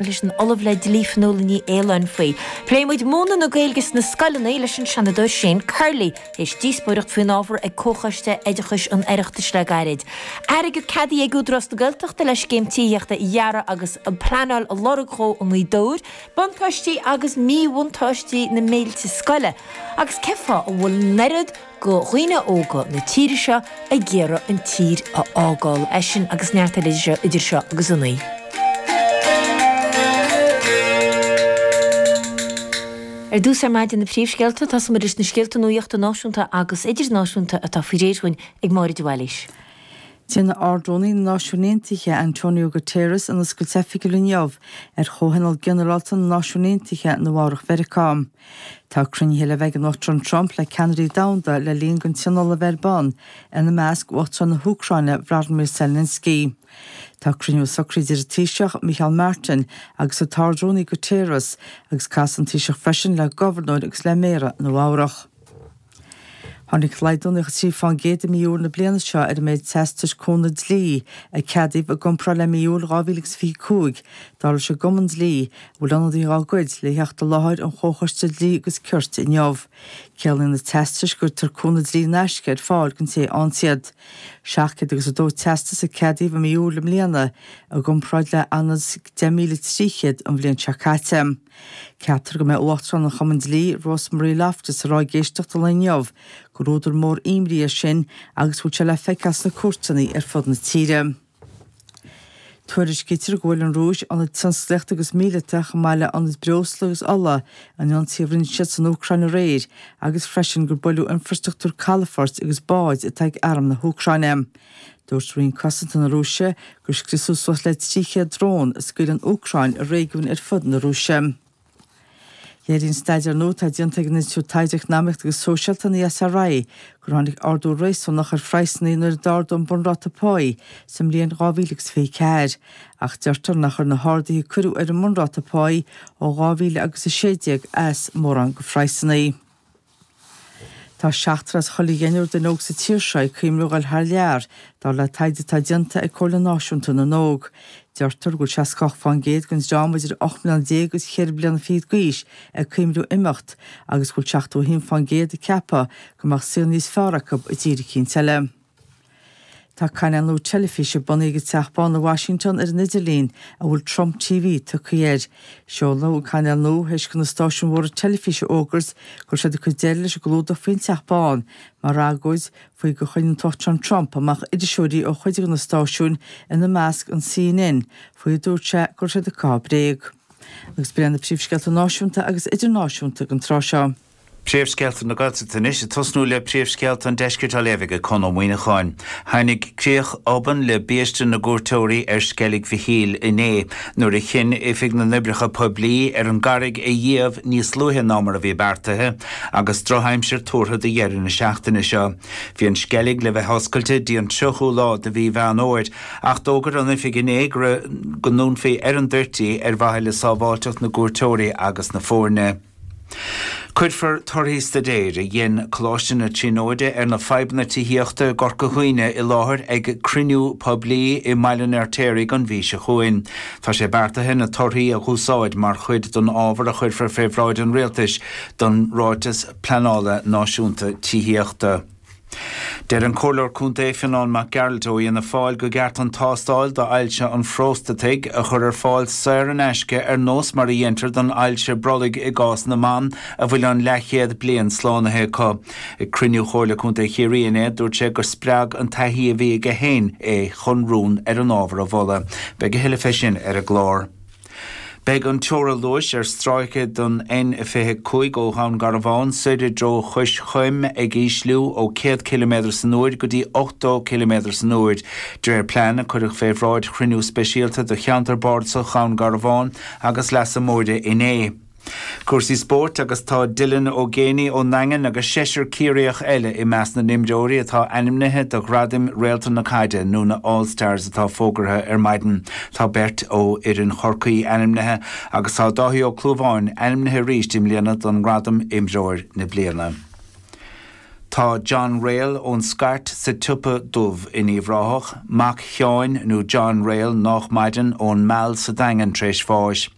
Leis an Ollamh le Dlí Fionnuala Ní Aoláin faoi. Pléifidh muid múineadh na Gaeilge sna scoileanna leis an Seanadóir Shane Curley, théis díospóireacht faoin ábhar ag Comhchoiste Oideachais an Oireachtais le gairid. Airgead ceadaithe ag Údarás na Gaeltachta le scéim tithíochta a dhearadh agus an pleanáil a lorg dhó i nGaoth Dobhair, buntáistí agus míbhuntáistí na mbéiltí scoile agus cén fáth a bhfuil an oiread go dhaoine óga na tíre seo ag iarraidh an tír a fhágáil. É sin agus neart eile idir seo agus a 9. Ar dtús ar maidin na príomhscéalta, tosóidh muid leis na scéalta nuachta náisiúnta agus idirnáisiúnta atá faoi réir dhúinn ag Máire de Bhailís. Déanfaidh Ard-Rúnaí na Náisiún Aontaithe, Antonio Guterres, an oscailt oifigiúil inniu ar Chomhthionól Ginearálta na Náisiún Aontaithe i Nua Eabhrac Mheiriceá. Tá cruinnithe le bheith ag an Uachtarán Trump le ceannairí domhanda le linn don tionól a bheith ar bun, ina measc Uachtarán na hÚcráine Vladimir Zelensky. Tá cruinniú socraithe idir an Taoiseach, Micheál Martin, agus an tArd-Rúnaí Guterres, agus casfaidh an Taoiseach freisin le gobharnóir agus le méara Nua Eabhrac. Tháinig laghdú 93% i mí Iúil na bliana seo ar an méid teastais cúnamh dlí a ceadaíodh i gcomparáid le mí Iúil 2025, dar leis an gCumann Dlí, a bhfuil ionadaithe dá gcuid le theacht i láthair an Chomhchoiste Dlí agus Cirt inniu. Ciallaíonn na teastais go gcuirtear cúnamh dlí in aisce ar fáil don té a fhaigheann iad. 700 agus 2 teastas a ceadaíodh i mí Iúil i mbliana, i gcomparáid le 10,300 an bhliain seo caite. Ceaptar go mbeidh Uachtarán an Chumainn Dlí, Rosemarie Loftus, ag rá ag éisteacht an lae inniu gur údar mór imní é sin agus go bhfuil sé le feiceáil sna cúirteanna ar fud na tíre. Tuairiscítear go bhfuair an Rúis ionaid tionsclaíochta agus míleata chomh maith le ionaid breosla agus ola in ionsaí a rinne siad san Úcráin aréir agus freisin gur buaileadh infrastruchtúr calafoirt agus báid atá ag arm na hÚcráine. Dúirt Roinn Cosanta na Rúise gur scriosadh suas le 300 drón a scaoil an Úcráin i réigiúin ar fud na Rúise. Léiríonn staidéar nua atá déanta ag an Institiúid Taighde Eacnamaíochta agus Sóisialta, an ESRI, gur tháinig ardú réasúnach ar phraghsanna nuair a d'ardaíodh an bunráta páí sa mbliain 2024, ach deirtear nár chuir na harduithe a cuireadh ar an mbunráta páí ó 2016 as mórán go phraghsanna. Tá seachtar as chuile dheichniúr duine óg sa tír seo ag cuimhneamh a dhul thar lear, dar le taighde atá déanta ag Comhairle Náisiúnta na nÓg. Deirtear go bhfuil 68% den dream idir 18 mbliana agus cheithre bliana fichead d'aois ag cuimhneamh imeacht agus go bhfuil 71% ag ceapadh go mbeadh saol níos fearr acu i dtír eicínt eile. Tá cainéal nua teilifíse bunaithe ag an Teach Bán i Washington ar an idirlíon, a bhfuil Trump TV tugtha air. Seoladh an cainéal nua théis do na stáisiúin mhóra teilifíse a fhógairt go raibh siad ag cur deireadh leis an gclúdach faoin Teach Bán mar agóid faoi gur choinnigh an tUachtarán Trump amach iriseoirí ó chuid de na stáisiúin, ina measc an CNN, faoi a dúirt sé go raibh siad ag caitheamh bréag. Agus b'in iad na príomhscéalta náisiúnta agus idirnáisiúnta don tráth seo. Príomhscéalta na Gaeltachta anois, ag tosnú le príomhscéalta an Deiscirt á léamh ag Conn Ó Muíneacháin. Tháinig críoch obann le biaiste na gcuairteoirí ar Sceilg Mhichíl inné nuair a chinn Oifig na nOibreacha Poiblí ar an gcarraig a dhíbh níos luaithe ná mar a bhí beartaithe agus drochaimsir tuartha do dheireadh na seachtaine seo. Bhí an sceilg le bheith oscailte dtí an 30ú lá de mhí Mheán Fhómhair ach d'fhógair an Oifig inné go ndúnfaí ar an dtoirt í ar mhaithe le sábháilteacht na gcuairteoirí agus na foirne. Cuirfear torthaí staidéir a dhein Coláiste na Tríonóide ar na fadhbanna tithíochta i gCorca Dhuibhne i láthair ag cruinniú poiblí i mBaile an Fheirtéaraigh an mhí seo chugainn. Tá sé beartaithe na torthaí a dh'úsáid mar chuid den ábhar a chuirfear fé bhráid an Rialtais don Ráiteas Pleanála Náisiúnta Tithíochta. Deir an Comhairleoir Contae Fionán Mac Gearailt ó Fhianna Fáil go gceart an tástáil d'ailse an phróstataigh a chur ar fáil saor in aisce ar nós mar a dhéantar don ailse brollaigh i gcás na mban a bhfuil an leathchéad bliain slánaithe acu. Ag cruinniú Chomhairle Contae Chiarraí inné dúirt sé gur spreag an taithí a bhí aige féin é chun rún ar an ábhar a mholadh. Beidh a thuilleadh fé sin ar an gclár. Beidh an teora luais ar stráice den N25 ó Dhún Garbhán soir i dtreo Chois Choim ag ísliú ó 100 ciliméadar san uair go dtí 80 ciliméadar san uair, de réir plean a cuireadh fé bhráid chruinniú speisialta do cheantar bardasach Dhún Garbhán agus Leasa Móire inné. Cúrsaí spóirt agus tá Dylan Ó Géibheannaigh ón nDaingean agus seisear Ciarraíoch eile i measc na n-imreoirí atá ainmnithe do ghradaim Réalta na Caide nó na All Stars atá fógartha ar maidin. Tá beirt ó fhoireann Chorcaí ainmnithe agus tá Dáithí Ó Clúmháin ainmnithe arís i mbliana don ngradam Imreoir na Bliana. Tá John Rail ón Scairt sa tSiopa Dubh in Uíbh Ráthach, mac Sheáin nó John Rail nách maireann, ón Meal sa Daingean tar éis bháis.